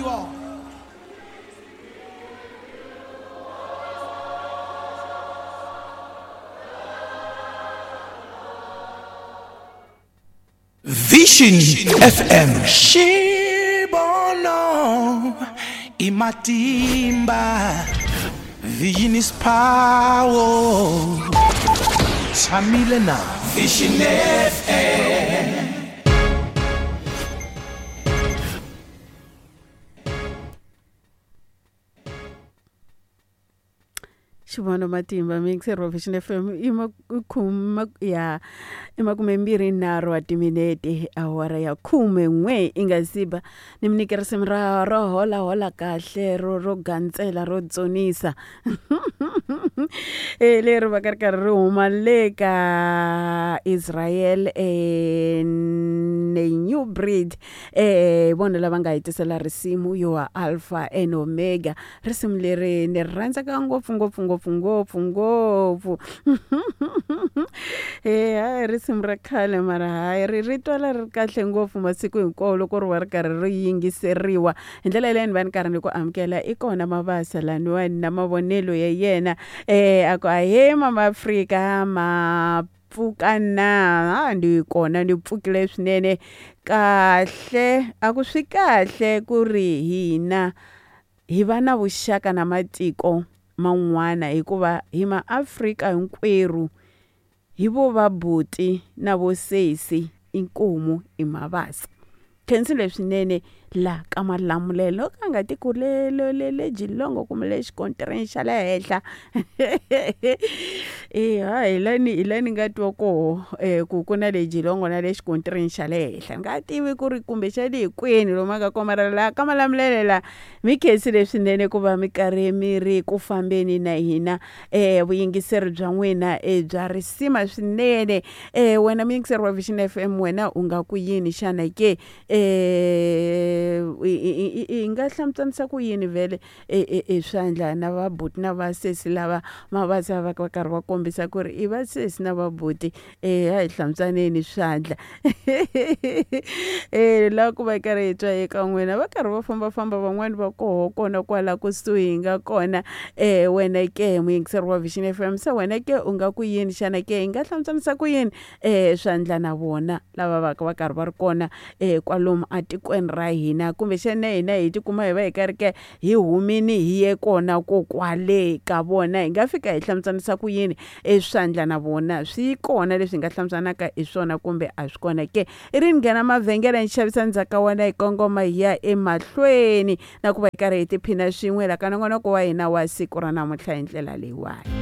you all. Vision FM. Xibono i matimba. Vision is power. Tshamile na Vision FM. Xivono matimba mixer wa Vision FM i makhuma ya i 23 wa timinete awara ya 11 i nga siba ni mi nyike risimu ra ro hola hola kahle ro ro gandzela ro dzunisa e leri va ka ri karhi ri huma le ka Israel ne New Breed vona lava nga hi tisela risimu yo wa Alpha and Omega risimu leri ni ri rhandzaka ngopfu ngopfu ngopfu ngopfu ngopfu hayi risimu ra khale mara hayi ri ri twala ri kahle ngopfu masiku hinkwawo loko ri va ri karhi ri yingiseriwa hi ndlela yaleyo ni va ni karhi ni ku amukela i kona Mabasa laniwani na mavonelo ya yena a ku ahee mama Afrika ma pfuka na ha ni kona ni pfukile swinene kahle a ku swi kahle ku ri hina hi va na vuxaka na matiko man'wana hikuva hi maAfrika hinkwerhu hi vo vabuti na vo sesi inkomu i Mabasa khensile swinene la ka Malamulele ka nga tiko le le le le Geelong kumbe le xikontireni xa le henhla ha hi la ni hi la ni nga twa koho ku ku na le Geelong na le xikontireni xa le henhla ni nga tivi ku ri kumbexani hi kwini lomu a nga kona mara la ka Malamulele la mi khensile swinene ku va mi karhi mi ri ku fambeni na hina vuyingiseri bya n'wina bya risima swinene wena muyingiseri wa Vision FM wena u nga ku yini xana ke i nga hlamuselisa ku yini vhele e swandla na vabuti na vasesi lava Mabasa va va karhi va kombisa ku ri i vasesi na vabuti a hi hlantswaneni swandla la ku va karhi hi twa eka n'wina va karhi va fambafamba van'wani va koho kona kwala kusuhi hi nga kona wena ke muyingiseri wa Vision FM se wena ke u nga ku yini xana ke hi nga hlamuselisa ku yini swandla na vona lava va va karhi va ri kona kwalomu atikweni ra hina kumbexana hina hi tikuma hi va hi karhi ke hi humini hi ye kona ko kwale ka vona hi nga fika hi hlamuselisa ku yini eswandla na vona swi kona leswi hi nga hlamuselaka hi swona kumbe a swi kona ke i ri ni nghena mavhengele ni xavisa ndzhaka wena hi kongoma hi ya emahlweni na ku va hi karhi hi tiphina swin'we la ka nongonoko wa hina wa siku ra namuntlha hi ndlela leyiwani.